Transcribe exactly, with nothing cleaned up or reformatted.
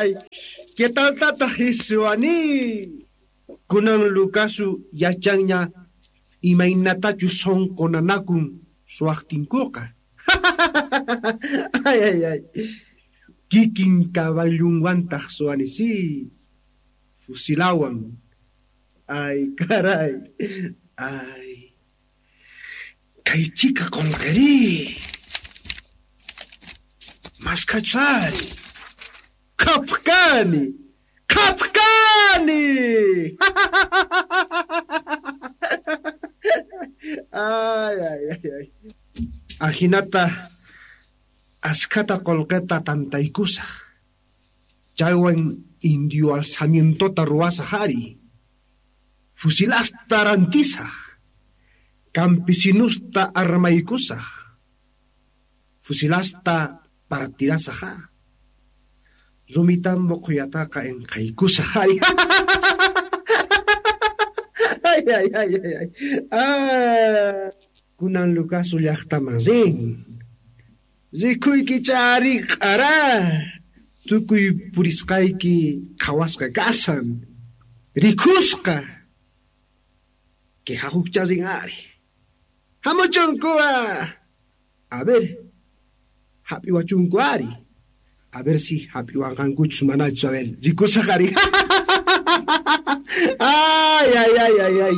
ay, ay. ¿Qué tal tataq isuani? Kunan Lukasu yachanña imaynatachu sonqo nanakun suwaqtinkuqa. Ay, ay, ay. Kikin caballunwantaq suwani si. Fusilawan. Ay, caray. Ay. Kay chika qolqeri. Maskachari. Kapkani. Kapkani. Ay, ay, ay, ay. Ajinata askhata qolqeta tantaykusaj. Chaywan indio alzamientota ruwasaj ari. Fusilasta rantisaj. Campesinusta armaykusaj. Fusilasta partirasaj. Rumitambo qhuyataqa enqaykusaj ari. Ay, ay, ay, ay, ay. Ah, kunan Lukasu llaqtaman rin. Rikuyki chari q'ara. Tukuy purisqayki qhawasqa kasan. Rikusqa. Quejajuqcha rin ari. Hamuchunkuwa. A ver, hap'iwachunku ari. A ver si hap'iwanqankuchus manachus, a ver, rikusaq ari. Ay, ay, ay, ay, ay.